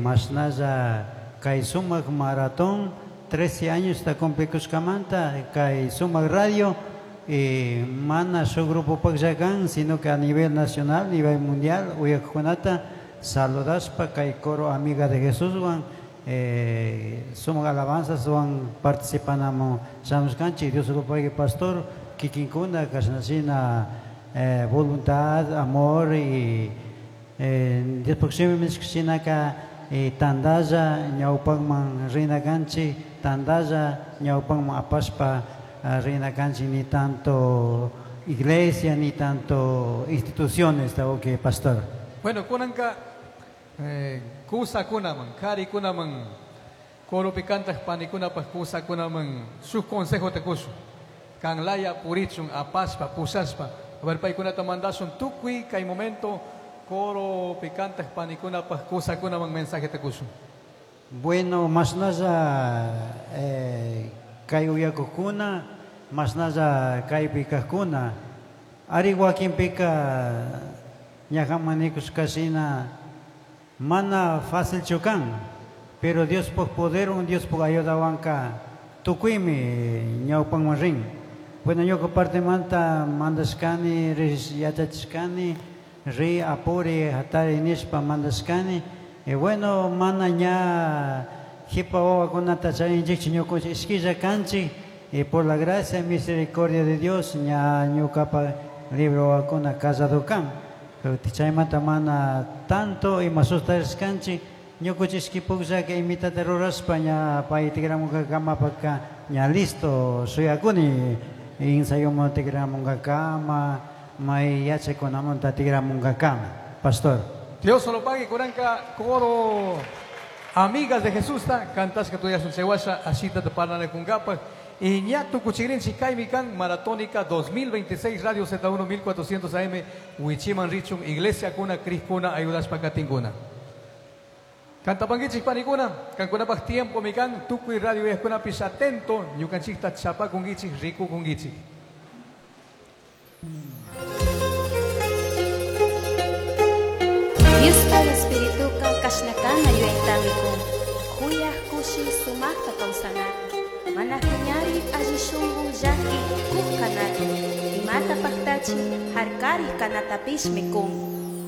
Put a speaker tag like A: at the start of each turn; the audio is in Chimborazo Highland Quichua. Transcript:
A: Mashnalla kay sumak maratón 13 años ta cumplikushkamanta kay sumak radio mana shuk grupopaklla kan, sino que a nivel nacional, nivel mundial uyakkunata saludashpa kay coro Amiga de Jesuswan sumak alabanzaswan participanamun shamushkanchik. Dios lo pague, pastor, kikinkuna kashnashina voluntad, amor y Dios shinaka tandalla ñawpakman rina kanchik, tandalla ñawpakman apashpa rina kanchik, ni tanto iglesia ni tanto instituciones, está ok, pastor.
B: Bueno, kunanka kusakunaman, karikunaman, coropi kantaq panikunapaq kusakunaman shuk consejo te kushun. Kanlaya purichun apashpa pushashpa. A ver, paykunata mandashun tukuy kay momento coro kantaq panikunapaq kusakunaman mensaje te kushun.
A: Bueno, mashnalla kay uyakukuna, mashnalla kaypi kajkuna, ari wakinpika ñajaman nikushkashina mana fácilchu kan, pero Diospaj poderwan, Diospaj ayudawanka tukuymi ñawpanman rin. Bueno, ñuka partemanta mandashkani, yachachishkani, ri apuri hatari nishpa mandashkani. Y bueno, mana ña jipa wawakunata charinchikchu ñukunchik ishkilla kanchik, y por la gracia y misericordia de Dios ña ñukapa libro wawakuna casado kan. Pero chaymanta mana tanto ima sustarishkanchik, ñukunchik ishkipukllaka imitata rurashpa ña pay tikramunkakamapaka ña listo shuyakuni ensayuman tikramunkakama, may yachakunamanta tikramunkakama, pastor.
B: Dios lo pague, kuranka coro Amigas de Jesús ta cantashka tuyasun chaywasha ashita te parlanakunkapaq. Y ña tukuchigrinchik kaymi kan Maratónica 2026 Radio Z1 1400 AM Wichiman Richun Iglesia kuna Criskuna ayudashpa katinkuna. Cantapanguichik panikuna, kankunapaq tiempo mi kan tukuy radio yajkunapish atento ñukanchikta chapakunkichik rikukunkichik.
C: Diospa espirituka kashnakana yuyaytamikun, kuyaj kushi sumakta kawsanata, mana piñari alli shunku llaki kuk kanata, imata paktachi harkari kanatapishmi kun.